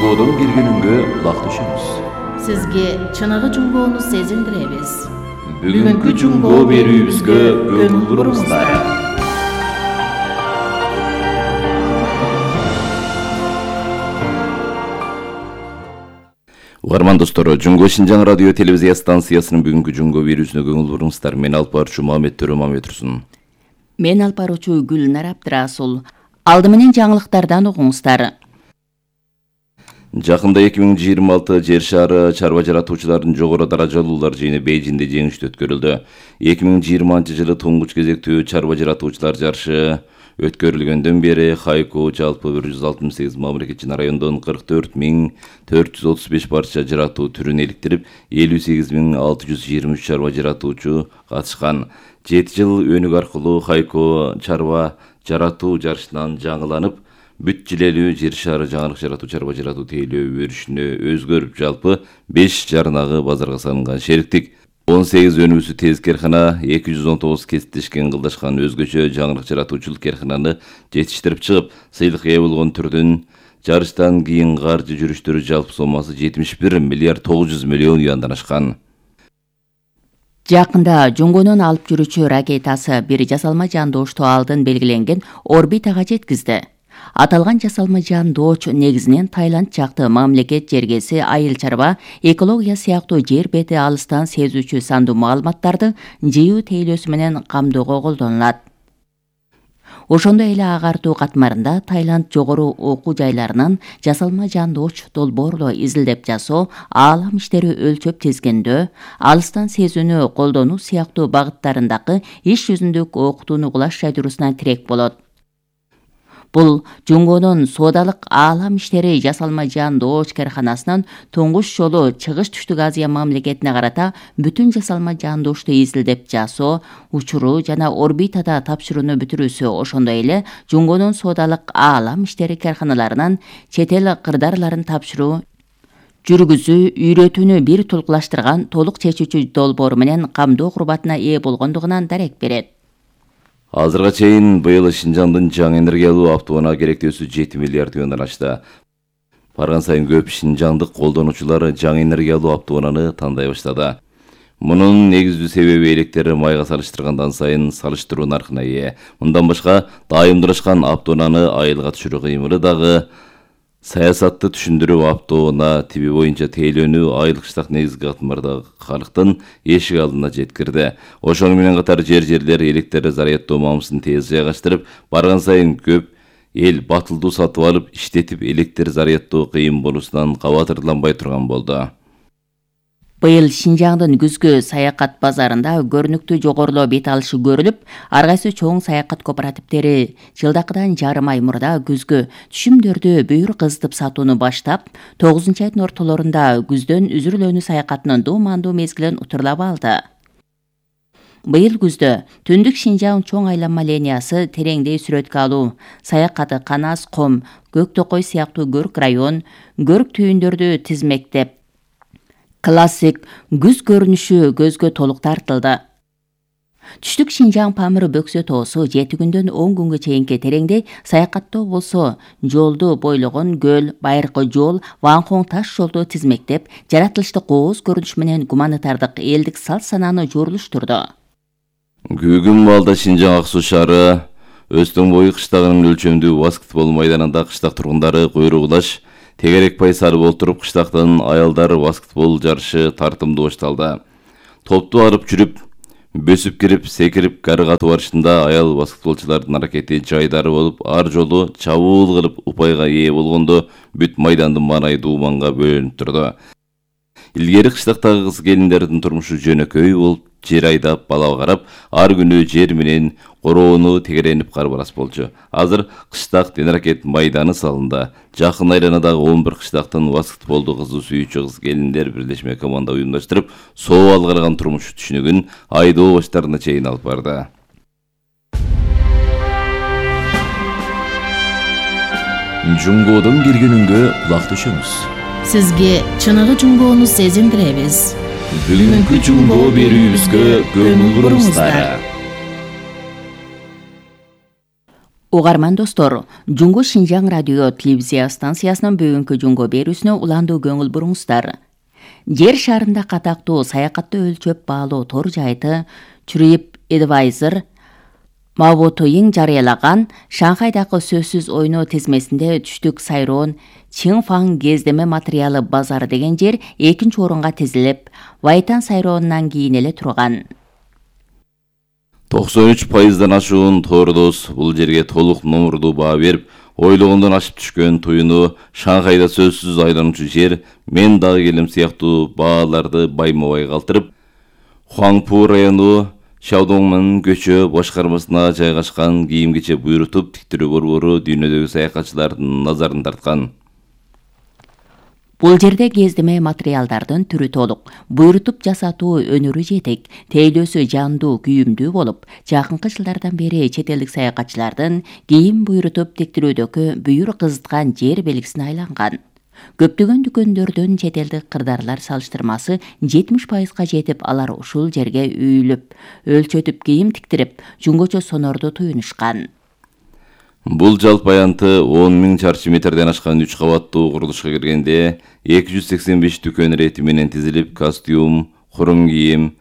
Жунгодон киргенүнгө кулак түшөбүз. Сизге чыныгы жунгоону сезилдиребиз. Бүгүнкү жунгоо берүүбүзгө көңүл буруңуздар. Угарман достор, Жунгоо Шинжаң радио телевизия станциясынын бүгүнкү жунгоо берүүсүнө көңүл буруңуздар. Мен алып баруучу Мамет Төрөмамет Турсун. Мен алып баруучу Гүлнар Абдрасул. Алды менен жаңылыктардан угуңуздар. Жакында 2026 жер шаары чарба жаратуучулардын жогору даражалуулар жыйыны Бейжиңде жеңиштүү өткөрүлдү. 2020-жылы туңгуч кезектүү чарба жаратуучулар жарышы өткөрүлгөндөн бери Хайко жалпы 168 мамлекетчи райондон 44.435 парча жаратуу түрүн иликтирип, 58.623 чарба жаратуучу катышкан. 7 жыл өнүк аркылуу Хайко чарба жаратуу жарышынан жаңыланып, бүт жилелүү жер шаары жаңылык жаратуу чарба жаратуу тейлөө өрүшүнө өзгөрүп, жалпы 5 жарнагы базарга салынган. Шериктик 18 өнүүсү тез керкана, 219 кесиптешкен кылдашкан өзгөчө жаңылык жаратуучулук керкананы жетиштирип чыгып, сыйлык ээ болгон түрдүн жарыштан кийин каржы жүрүштөрү жалпы сомасы 71 миллиард 900 миллион юандан ашкан. Жакында жунгонун алып жүрүүчү ракетасы бир жасалма жандоошту алдын белгиленген орбитага жеткизди. Аталган жасалма жандооч негизинен Таиланд жакты мамлекет жергеси, айыл чарба, экология сыяктуу жер бети алыстан сезүүчү сандуу маалыматтарды жыйуу тейлөөсү менен камдоого колдонулат. Ошондой эле агартуу катмарында Таиланд жогору окуу жайларынан жасалма жандооч долбоорло изилдеп жасоо, аалам иштери өлчөп тизгендөө, алыстан сезүүнү колдонуу сыяктуу багыттарындагы иш жүзүндүк окутууну угулаш жайдыруусуна тирек болот. Бул жунгонун соодалык аалам иштери жасалма жандооч карканасынын туңгуч жолу Чыгыш Түштүк Азия мамлекетине карата бүтүн жасалма жандоошту изилдеп жасоо, учуруу жана орбитада тапшырууну бүтүрүүсү, ошондой эле жунгонун соодалык аалам иштери карканаларынан чет эл кырдаарларын тапшыруу, жүргүзүү, үйрөтүүнү бир толукташтырган толук чечүүчү долбоор менен камдоо курбатына ээ болгондугунан дарек берет. Азырга чейин быйыл Шинжаңдын жаңы энергиялуу автоунаа керектөөсү 7 миллиард юандан ашты. Барган сайын көп шинжаңдык колдонуучулар жаңы энергиялуу автоунааны тандай баштады. Мунун негиздүү себеби электр майга салыштыргандан сайын салыштыруу наркына ээ. Мындан башка дайымдалышкан автоунааны айылга түшүрүү кыймылы дагы саясатты түшүндүрүп, автоунаа тиби боюнча тейлөөнү айыл кыштак негизги катмардагы калктын эшик алдына жеткирди. Ошону менен катар жерлер электр заряддоо мамысын тез жайгаштырып, барган сайын көп эл батылдуу сатып алып, иштетип электр заряддоо кыйын болуусунан кабатырланбай турган болду. Быйыл Шинжаңдын күзгү саякат базарында көрүнүктүү жогорулоо бет алышы көрүлүп, ар кайсы чоң саякат кооперативдери жылдакыдан жарым ай мурда күзгү түшүмдөрдү бүйүр кызытып сатууну баштап, 9-айдын ортолорунда күздөн үзүрүлөөнү саякатынын дуумандуу мезгилин утурлап алды. Быйыл күздө Түндүк Шинжаң чоң айланма линиясы тереңдей сүрөткө алуу, саякаты Канас, Ком, Көк Токой сыяктуу көрк район, көрк түйүндөрдү тизмектеп, классик күз көрүнүшү көзгө толук тартылды. Түштүк Шинжаң Памыр Бөксө тоосу 7 күндөн 10 күнгө чейинки тереңде саякаттоо болсо, жолду бойлогон көл, байыркы жол, Ванхоң таш жолду тизмектеп, жаратылышты кооз көрүнүш менен гуманитардык элдик салт санааны жорулуштурду. Бүгүн балда Шинжаң Ак Суу шаары Өстөн бою кыштагынын өлчөмдүү баскетбол майданында кыштак тургундары куйругулаш тегерек пай сарып отуруп кыштактын аялдар баскетбол жарышы тартымдуу башталды. Топту алып жүрүп, бөсүп кирип, секирип, кары катуу барышында аял баскетболчулардын аракети жайдары болуп, ар жолу чабуул кылып упайга ээ болгондо бүт майдандын маанайы дууманга бөлүнүп турду. Илгери кыштактагы кыз келиндердин турмушу жөнөкөй болуп, жер айдап, бала карап, ар күнү жер менен короону тегеренип карбалас болчу. Азыр кыштак денаракет майданы салынды. Жакын айланадагы 11 кыштактын баскетболду кызуу сүйүүчү кыз келиндер бирлешме команда уюмдаштырып, соо алгырган турмуш түшүнүгүн айдоо баштарына чейин алып барды. Жунгодон киргенүнгө кулак түшөбүз. Сизге чыныгы жунгоону сезилдиребиз. Бүгүнкү жунгоо берүүбүзгө көңүл буруңуздар. Угарман достор, Жунго Шинжаң радио телевизия станциясынын бүгүнкү жунго берүүсүнө уландуу көңүл буруңуздар. Жер шарында катактуу саякатты өлчөп баалоо тор жайты TripAdvisor Маботоин жарыялаган Шанхайдагы сөзсүз ойноо тизмесинде түштүк сайроон Чинфан кездеме материалы базары деген жер 2-нчи орунга тизилип, Вайтан сайроонунан кийин эле турган. 93% ашуун тордос бул жерге толук номурдуу баа берип, ойлогондон ашып түшкөн туюну Шанхайда сөзсүз айлануучу жер мен дагы келем сыяктуу бааларды байма-бай калтырып, Хуаңпу району Шаодоңмун көчө башкармасына жайгашкан кийим-кече буйрутуп тиктирүү борбору дүйнөдөгү саякатчылардын назарын тарткан. Бул жерде кездеме материалдардын түрү толук, буйрутуп жасатуу өнөрү жетек, тейлөөсү жандуу, күйүмдүү болуп, жакынкы жылдардан бери чет элдик саякатчылардын кийим буйрутуп тиктирүүдөгү бүйүр кызыткан жер белгисине айланган. Көптөгөн дүкөндөрдүн чет элдик кырдаарлар салыштырмасы 70%га жетип, алар ушул жерге үйүлүп, өлчөтүп кийим тиктирип, жунгочо сонорду туюнушкан. Бул жалпы аянты 10.000 чарчы метрден ашкан 3 кабаттуу курулушка киргенде 285 дүкөн рети менен тизилип, костюм, хурум кийим,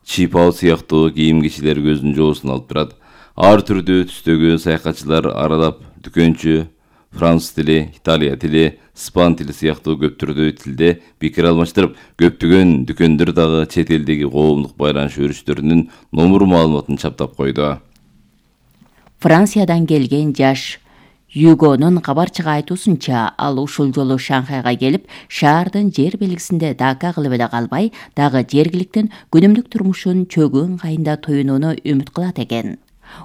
чипау сыяктуу кийим-кечилер көздүн жоосун алып турат. Ар түрдүү түстөгү саякатчылар аралап дүкөнчү француз тили, италия тили, испан тили сыяктуу көп түрдүү тилде пикир алмаштырып, көптөгөн дүкөндөр дагы чет элдеги коомдук байланыш өрүштөрүнүн номур маалыматын чаптап койду. Франциядан келген жаш Югонун кабарчыга айтуусунча, ал ушул жолу Шанхайга келип, шаардын жер белгисинде дака кылып эле калбай, дагы жергиликтин күнүмдүк турмушун чөгүү ыңгайында тоюнууну үмүт кылат экен.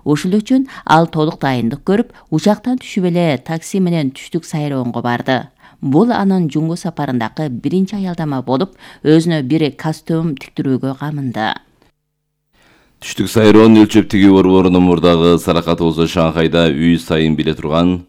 Ушул үчүн ал толук дайындык көрүп, учактан түшүп эле такси менен түштүк сайроонго барды. Бул анын жунго сапарындагы биринчи аялдама болуп, өзүнө бир костюм тиктирүүгө камынды. Түштүк сайроон өлчөп тигүү борборунун мурдагы саракаты болсо Шанхайда үй сайын биле турган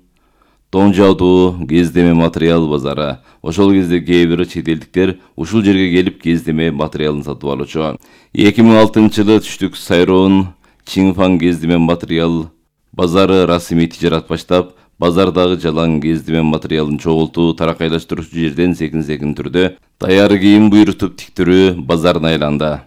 Доңжаудуу кездеме материал базары. Ошол кезде кээ бир чет элдиктер ушул жерге келип кездеме материалын сатып алуучу. 2006-жылы түштүк сайроон Чинфан кездеме материал базары расмий тижарат баштап, базардагы жалаң кездеме материалын чогултуу, таракайлаштыруучу жерден секин түрдө даяр кийим буйрутуп тиктирүү базарына айланды.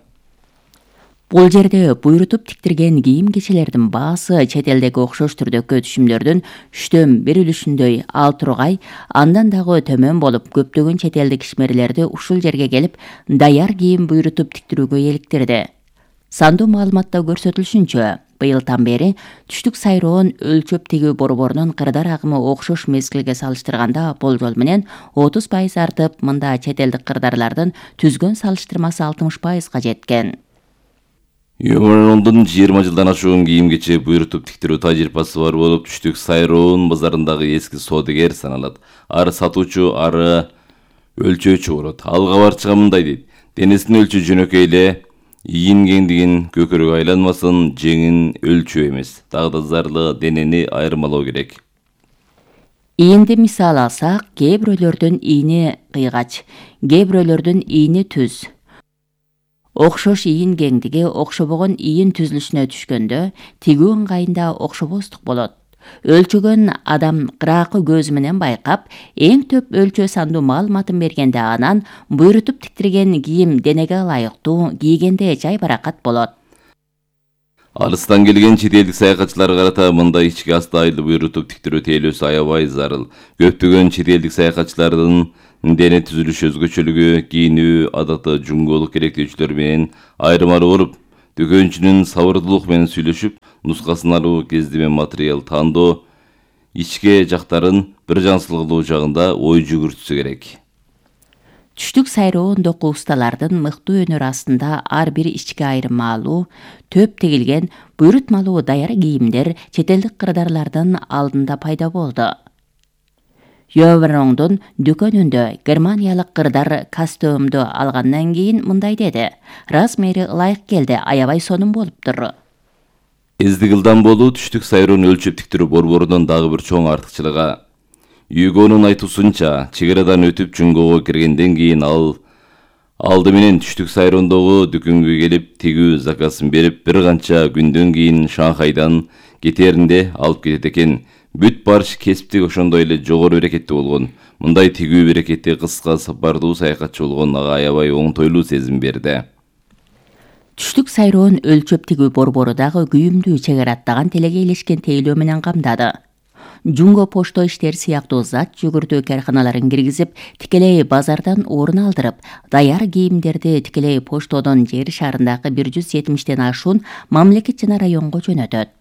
Бул жерде буйрутуп тиктирген кийим-кечелердин баасы чет элдеги окшош түрдөгү түшүмдөрдүн 1/3 үлүшүндөй ал тургай, андан дагы төмөн болуп, көптөгөн чет элдик ишмерлерди ушул жерге келип, даяр кийим буйрутуп тиктирүүгө эликтирди. Сандуу маалыматта көрсөтүлүшүнчө, быйылдан бери түштүк сайроон өлчөп тигүү борборунун кырдар агымы окшош мезгилге салыштырганда болжол менен 30% артып, мында чет элдик кырдарлардын түзгөн салыштырмасы 60%га жеткен. Юмондун 20 жылдан ашуун кийим-кече буйрутуп тиктирүү тажрыйбасы бар болуп, түштүк сайроон базарындагы эски соодагер саналат. Ары сатуучу, ары өлчөөчү болот. Ал кабарчыга мындай дейт: денесин өлчөө жөнөкөй эле, ийин кеңдигин көкөрөк айланмасын, жеңин өлчөө эмес. Дагы да зарлы денени айырмалоо керек. Ийинди мисал алсак, кээ бирөөлөрдүн ийини кыйгач, кээ бирөөлөрдүн ийини түз. Окшош ийин кеңдиги окшобогон ийин түзүлүшүнө түшкөндө тигүү ыңгайында окшобостук болот. Өлчөгөн адам кыраакы көзү менен байкап, эң төп өлчөө сандуу маалыматын бергенде анан буйрутуп тиктирген кийим денеге ылайыктуу, кийгенде жай баракат болот. Алыстан келген чет элдик саякатчыларга карата мындай ички асты айлы буйрутуп тиктирүү тейлөөсү аябай зарыл. Көптөгөн чет элдик саякатчылардын дене түзүлүшү өзгөчөлүгү, кийинүү адаты жунголук керектөөчүлөр менен айырмалуу болуп, дүкөнчүнүн сабырдуулук менен сүйлөшүп, нускасын алуу, кездеме материал тандоо, ичке жактарын бир жансылыгылуу жагында ой жүгүртүшү керек. Түштүк сайроондогу усталардын мыктуу өнөрү астында ар бир ички айырмалуу, төп тегилген, буйрутмалуу даяр кийимдер чет элдик кырдарлардын алдында пайда болду. Йовроңдун дүкөнүндө германиялык кырдар костюмду алгандан кийин мындай деди: "Размери ылайык келди, аябай сонун болуптур." Эздик ылдам болуу түштүк сайроон өлчөп тиктирүү борборунун дагы бир чоң артыкчылыгы. Югонун айтуусунча, чек арадан өтүп жунгого киргенден кийин ал Алды менен түштүк сайрондогу дүкөнгө келип тигүү заказын берип, бир канча күндөн кийин Шанхайдан кетеринде алып кетет экен. Бүт барыш кесиптик ошондой эле жогору берекеттүү болгон. Мындай тигүү берекетти кыска сапардуу саякатчы болгон ага аябай оңтойлуу сезим берди. Түштүк сайроон өлчөп тигүү борбору дагы күйүмдүү чегара аттаган телеге илешкен тейлөө менен камдады. Жунго пошто иштер сыяктуу зат жүгүртүү карканаларын киргизип, тикелей базардан орун алдырып, даяр кийимдерди тикелей поштодон жер шарындагы 170тен ашуун мамлекет жана районго жөнөтөт.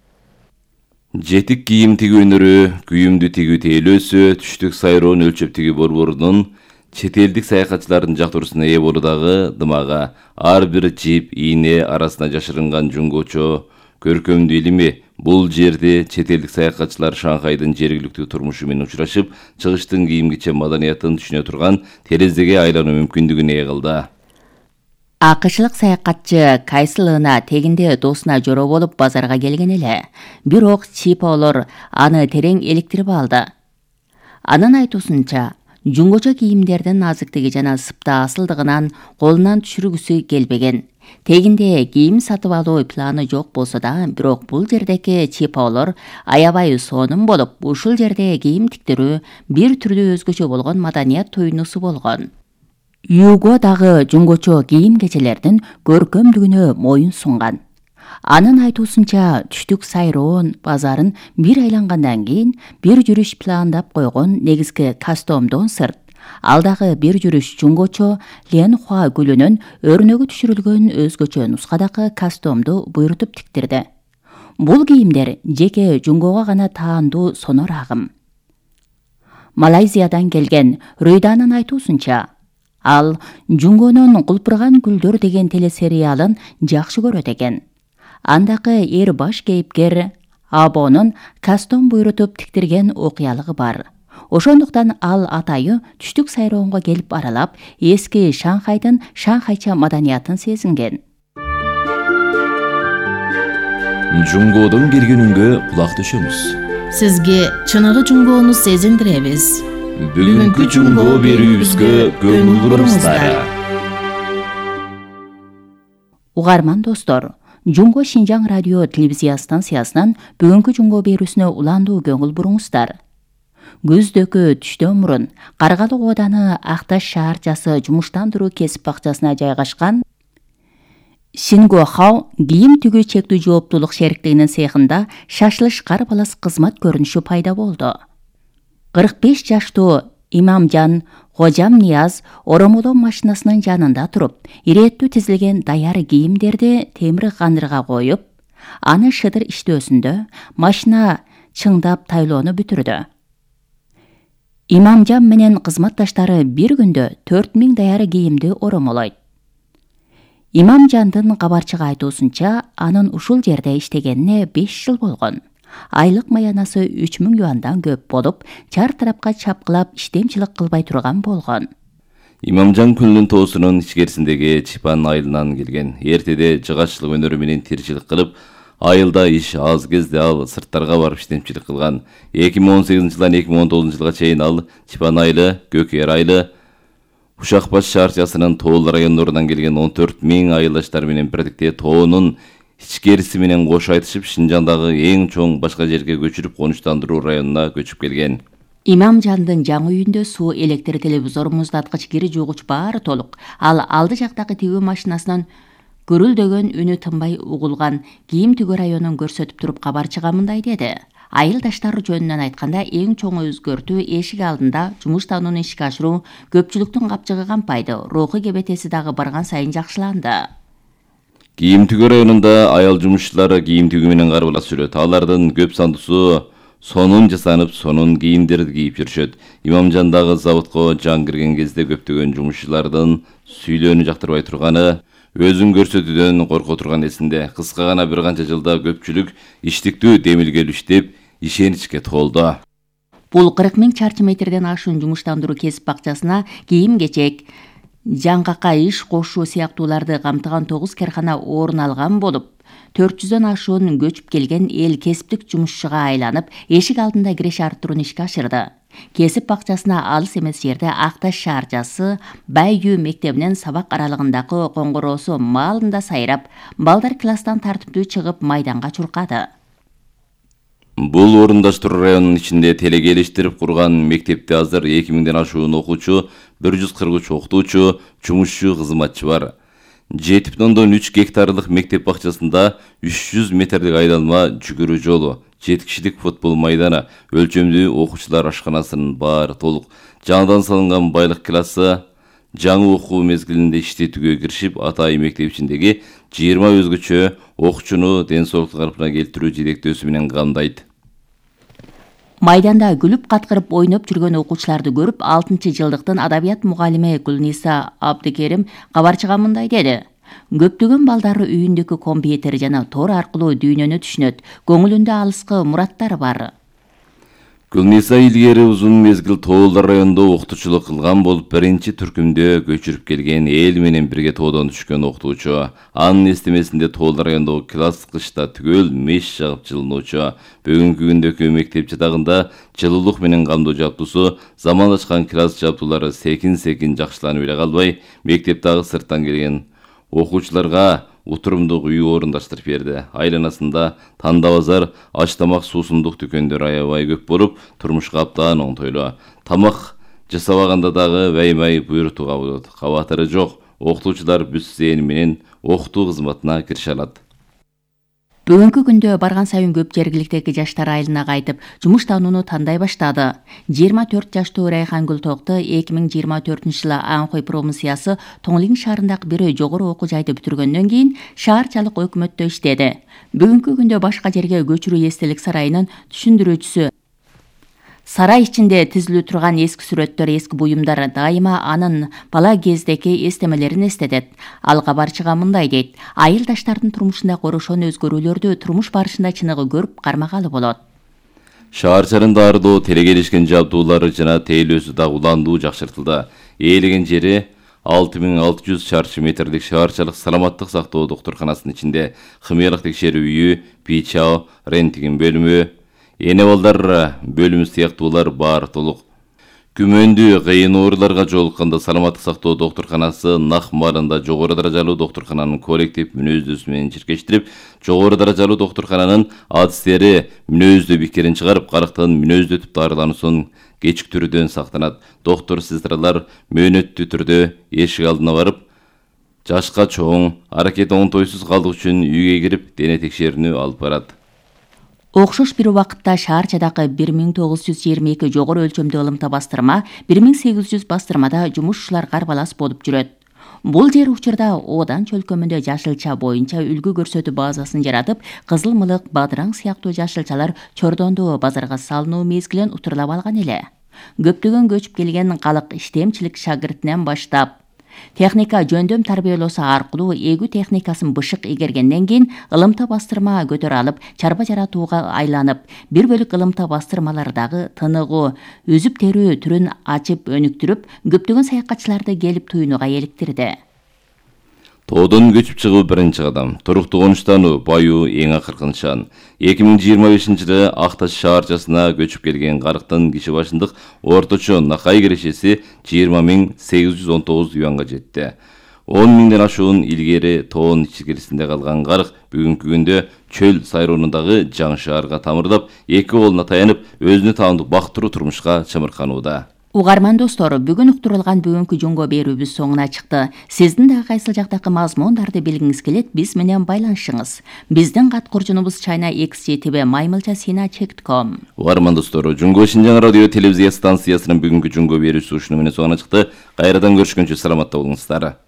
Жетик кийим тигүүнөрү, күйүмдүү тигүү тейлөөсү Түштүк сайроон өлчөп тигүү борборунун чет элдик саякатчылардын жактыруусуна ээ болуу дагы дымага. Ар бир жип, ийне арасына жашырынган жунгочо көркөмдүү илими. Бул жерде чет элдик саякатчылар Шанхайдын жергиликтүү турмушу менен учурашып, чыгыштын кийим кечен маданиятын түшүнө турган терезеге айлануу мүмкүндүгүн ээ кылды. АКШлык саякатчы Кайсылына тегинде досуна жороо болуп базарга келген эле. Бирок чипаолор аны терең эликтирип алды. Анын айтуусунча, жунгочо кийимдердин назыктыгы жана сыпта асылдыгынан колунан түшүргүсү келбеген. Тегинде кийим сатып алуу планы жок болсо да, бирок бул жердеки чипаолор аябай сонун болуп, ушул жерде кийим тиктирүү бир түрдүү өзгөчө болгон маданият туйнусу болгон. Юго дагы жунгочо кийим кечелердин көркөмдүгүнө моюн сунган. Анын айтуусунча, Түштүк сайроон базарын бир айлангандан кийин бир жүрүш пландап койгон негизги костюмдон сырт, ал дагы бир жүрүш жунгочо Ленхуа гүлүнөн өрнөгү түшүрүлгөн өзгөчө нускадагы костюмду буйрутуп тиктирди. Бул кийимдер жеке жунгого гана таандуу сонор агым. Малайзиядан келген Рүйданын айтуусунча, ал Жунгонун Кулпурган гүлдөр деген телесериалын жакшы көрөт экен. Андагы эр баш кейипкер Абонун костюм буйрутуп тиктирген окуялыгы бар. Ошондуктан ал атайы Түштүк сайроонго келип аралап, эски Шанхайдын шанхайча маданиятын сезинген. Жунгодон келгенүнгө кулак түшөмүз. Сизге чыныгы жунгоону сезиндиребиз. Бүгүнкү жунгоо берүүбүзгө көңүл буруңуздар. Угарман достор, Жунго Шинжаң радио телевизия станциясынан бүгүнкү жунгоо берүүсүнө уландуу көңүл буруңуздар. Көздөгү түштөн мурун Каргалык ооданы Акташ шаарчасы жумуштандыруу кесип бакчасына жайгашкан Шингохао кийим тигүү чектүү жооптуулук шериктигинин цехинда шашлыш карбалас кызмат көрүнүшү пайда болду. 45 жаштуу Имамжан Хожам Нияз оромолоо машинасынын жанында туруп, ирээттүү тизилген даяр кийимдерди темир кандырга коюп, аны шыдыр иштөөсүндө машина чыңдап тайлоону бүтүрдү. Имамжан менен кызматташтары бир күндө 4000 даяр кийимди оромолойт. Имамжандын кабарчыга айтуусунча, анын ушул жерде иштегенине 5 жыл болгон. Айлык маянасы 3000 юандан көп болуп, чар тарапка чапкылап иштемчилик кылбай турган болгон. Имамжан күнүнүн тоосунун ичкерисиндеги Чипан айылынан келген. Эртеде жыгаччылык өнөрү менен тиричилик кылып, айылда иш аз кезде ал сырттарга барып иштемчилик кылган. 2018-жылдан 2019-жылга чейин ал Чипан айылы, Көкер айылы, Ушакбаш шаарчасынын Тоол райондорунан келген 14.000 айылдаштар менен бирдикте тоонун ичкериси менен кош айтышып, Шинжаңдагы эң чоң башка жерге көчүрүп конуштандыруу районуна көчүп келген. Имамжандын жаңы үйүндө суу, электр, телевизор, муздаткыч, кири жуугуч баары толук. Ал алды жактагы тигүү машинасынан гүрүлдөгөн үнү тынбай угулган кийим тигүү районун көрсөтүп туруп кабарчыга мындай деди. Айылдаштар жөнүнөн айтканда, эң чоң өзгөртүү эшик алдында жумуштанууну ишке ашыруу, көпчүлүктүн капчыгы кампайды, руху кебетеси дагы барган сайын жакшыланды. Кийим тигүү районунда аял жумушчулар кийим тигүү менен карбалас жүрөт. Алардын көп сандуусу сонун жасанып, сонун кийимдерди кийип жүрүшөт. Имамжандагы заводко жан кирген кезде көптөгөн жумушчулардын сүйлөөнү жактырбай турганы, өзүн көрсөтүүдөн корко турган эсинде. Кыска гана бир канча жылда көпчүлүк иштиктүү демилгелүү иштеп, ишеничке толду. Бул 40.000 чарчы метрден ашуун жумуштандыруу кесип бакчасына кийим-кечек, жаңгакка иш кошуу сыяктууларды камтыган 9 кархана орун алган болуп, 400дөн ашуун көчүп келген эл кесиптик жумушчуга айланып, эшик алдында киреш арттырууну ишке ашырды. Кесип бакчасына алыс эмес жерде Акташ шаарчасы Байгүү мектебинин сабак аралыгындагы коңгуроосу маалында сайрап, балдар класстан тартиптүү чыгып майданга чуркады. Бул Орундаш Тур районунун ичинде телекелиштирип курган мектепте азыр 2000ден ашуун окуучу, 143 окутуучу, жумушчу, кызматчы бар. 7,3 гектарлык мектеп бакчасында 300 метрлик айланма жүгүрүү жолу, 7 кишилик футбол майданы, өлчөмдүү окуучулар ашканасынын баары толук, жаңыдан салынган байлык классы, жаңы окуу мезгилинде иштетүүгө киришип, атайын мектеп ичиндеги 20 өзгөчө окуучуну ден соолуктун калпына келтирүү жетектөөсү менен камдайт. Майданда күлүп каткырып ойноп жүргөн окуучуларды көрүп, 6-жылдыктын адабият мугалими Гүлниса Абдыкерим кабарчыга мындай деди. Көптөгөн балдары үйүндөгү компьютер жана тор аркылуу дүйнөнү түшүнөт, көңүлүндө алыскы мураттары бар. Гүлниса илгери узун мезгил Тоолдар районунда окутуучулук кылган болуп, биринчи түркүмдө көчүрүп келген эл менен бирге тоодон түшкөн окутуучу. Анын эстемесинде Тоолдар районундагы класс кышта түгөл меш жагып жылынуучу. Бүгүнкү күндөгү мектеп жатагында жылуулук менен камдоо жабдуусу, заманлашкан класс жабдуулары секин-секин жакшыланып эле калбай, мектептеги сырттан келген окуучуларга утурумдук үй орундаштырып берди. Айланасында танда базар, аш тамак, суусундук дүкөндөр аябай көп болуп, турмушка аптаан оңтойлуу. Тамак жасабаганда дагы баймай буйруктууга болот. Кабатыры жок. Окутуучулар бүт зээн менен окутуу кызматына кирише алат. Бүгүнкү күндө барган сайын көп жергиликтеги жаштар айылына кайтып, жумуш таанууну тандай баштады. 24 жаштуу Райхан Гүлтокту 2024-жылы Анхой промыссиясы Тоңлин шаарындагы бир жогору окуу жайды бүтүргөндөн кийин шаарчалык өкмөттө иштеди. Бүгүнкү күндө башка жерге көчүрүү эстелик сарайынын түшүндүрүүчүсү. Сарай ичинде тизилүү турган эски сүрөттөр, эски буюмдар дайыма анын бала кездеги эстемелерин эстетет. Ал кабарчыга мындай дейт: айылдаштардын турмушунда корошон өзгөрүүлөрдү турмуш барышында чыныгы көрүп кармагалы болот. Шаарчанын дарылоо, телекелишкен жабдуулары жана тейлөөсү дагы уландуу жакшыртылды. Ээлеген жери 6600 чарчы метрлик шаарчалык саламаттык сактоо доктурканасынын ичинде химиялык текшерүү үйү, ПИЧАО, рентген бөлүмү, эне балдар бөлүмү сыяктуулар бар толук. Күмөндүү кыйын ооруларга жолукканда саламаттык сактоо доктурканасы нак маарында жогору даражалуу доктуркананын коллектив мүнөздөсү менен чиркештирип, жогору даражалуу доктуркананын адистери мүнөздөө бикерин чыгарып, карактан мүнөздөтүп дарылануусун кечиктирүүдөн сактанат. Доктор-сестралар мөөнөттүү түрдө эшик алдына барып, жашка чоң, аракети оңтойсуз калдык үчүн үйгө кирип, дене текшерүүнү алып барат. Окшош бир убакытта шаарчадагы 1922 жогору өлчөмдүү ылымта бастырма, 1800 бастырмада жумушчулар карбалас болуп жүрөт. Бул жер учурда Одан чөлкөмүндө жашылча боюнча үлгү көрсөтүү базасын жаратып, кызыл мылык, бадыраң сыяктуу жашылчалар Чордондо базарга салынуу мезгилин утурлап алган эле. Көптөгөн көчүп келген калык иштемчилик шагиртинен баштап, техника жөндөм тарбиялоосу аркылуу эгүү техникасын бышык игергенден кийин ылымта бастырма көтөрө алып, чарба жаратууга айланып, бир бөлүк ылымта бастырмалардагы тыныгуу, үзүп терүү түрүн ачып өнүктүрүп, көптөгөн саякатчыларды келип туюнууга эликтирди. Тоодон көчүп чыгуу биринчи кадам. Туруктуу конуштануу, баюу эң акыркы нышан. 2025-жылы Акташ шаарчасына көчүп келген карыктын киши башындык орточо накай кирешеси 20.819 юанга жетти. 10.000ден ашуун илгери тоон ичкерисинде калган карык бүгүнкү күндө чөл сайроондагы жаңы шаарга тамырдап, эки колуна таянып, өзүнө таандык бактыруу турмушка чымырканууда. Угарман достор, бүгүн уктурулган бүгүнкү жунго берүүбүз соңуна чыкты. Сиздин да кайсыл жактагы мазмундарды билгиңиз келет, биз менен байланышыңыз. Биздин кат куржунубуз china@maymilchasina.com. Угарман достор, Жунго Шинжаң радио телевизия станциясынын бүгүнкү жунго берүүсү ушуну менен соңуна чыкты. Кайрадан көрүшкөнчө саламатта болуңуздар.